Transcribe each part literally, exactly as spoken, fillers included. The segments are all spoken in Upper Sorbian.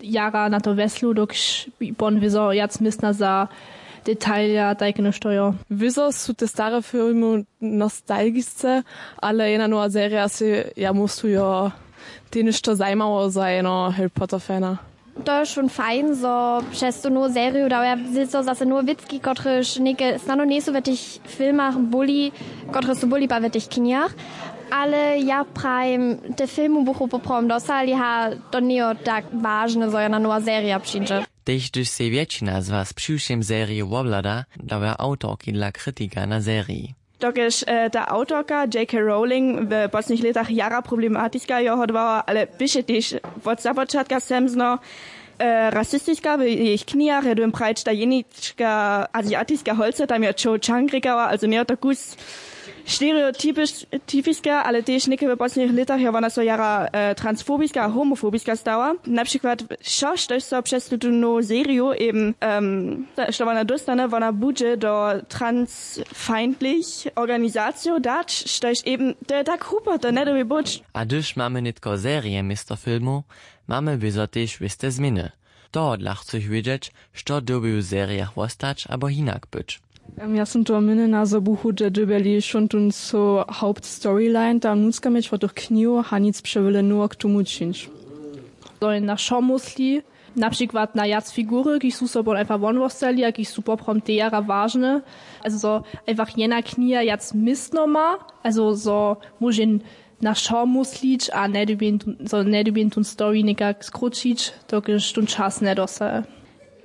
Jara na to wjeslu, dokelž pon wězo wjac městna za detalja tajke něšto jo. Wězo su te stare filmy nostalgisce, ale jedna nowa serija sej ja myslu jo, tež něšto zajimało za jeno Harry Potter fana. To je šón fajn, zo přez tu nowu seriju dał ja zase nowe wěcki, kotrež něke snano njejsu w tych filmach buli, kotrež su buli pa w tych knihach. Ale ja prajim, te filmy buchu poprawom dosali, ha, to njejo tak wažne, zo jedna nowa serija přińdźe. Tež hdyž sej wjetšina z was přiwšěm seriju wobhlada, dała awtorki dla kritika na seriji. Dokelž e, ta awtorka J K Rowling w poslednich lětach jara problematiska jo hodowała, ale běše tež wot započatka semzno e, rasistiska w jejich knihach, je dym prajć ta jenička aziatiska holca, tam jo Cho Chang rěkała, also njejo to kus stereotypiska, ale tež něke w poslednich lětach jo wona so jara e, transfobiska a homofobiska stała. Na přikład wšo, štož so přez tutu nowu seriju eben um, što wona dóstane, wona budźe do transfeindlich organizacijow dać, štož eben to je tak hrupo, to njedobi być. A hdyž mamy nětko serije město filmow, mamy wězo tež wěste změny. Tohodla chcych wědźeć, što dyrbi w serijach wostać abo hinak być. Em, ja sym to mynjena, zo buchu te dyrbjeli šontun so hauptstoryline tam nutřka měć wot tych knihow a nic přewjele nowo k tomu čińć. To je na wšo mysli, na přikład na wjac figury, kiž su so pon einfach won wostali a kiž su poprawom te jara wažne. Also zo einfach jedna kniha wjac městno ma, also zo móže na wšo myslić a njedybjen tón story někak skrótšić, dokelž tón čas njedosaje.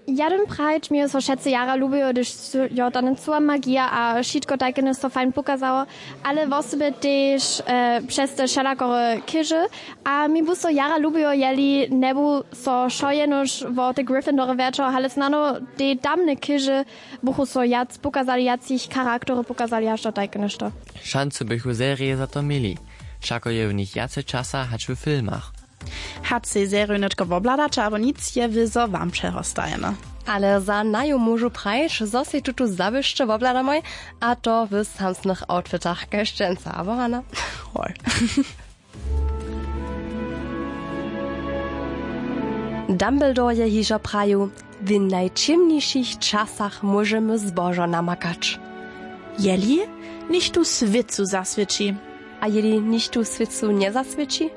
Ja dym prajć, mi so wšetcy jara lubijo, hdyž jo ta njecowa magija a wšitko tajke něšto fajn pokazało, ale wosebje tež e, přez te wšelakore chěže. A mi bu so jara lubijo, jeli njebu so wšo jenož wo te Gryffindore wjerćało, ale snano te tamne chěže buchu so wjac pokazali, wjac jich charaktery pokazali, haž to tajke něšto. Šancu bychu serije za to měli. Wšako je w nich wjace časa hač w filmach. Hač sej seriju nětko wobhladaće abo nic, je wězo wam přehostajene. Ale za naju móžu prajć, zo sej tutu zawěsće wobhladamoj, a to w samsnych outfitach kaž dźensa, abo Hana? Hoj. Dumbledore je hižo prajił: „W najćěmnišich časach móžemy zbožo namakać.“ Jeli? Nichtó swětcu zaswědči. A jeli nichtó swětcu njezaswědči?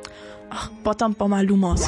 Ach, potom pomha Lumos.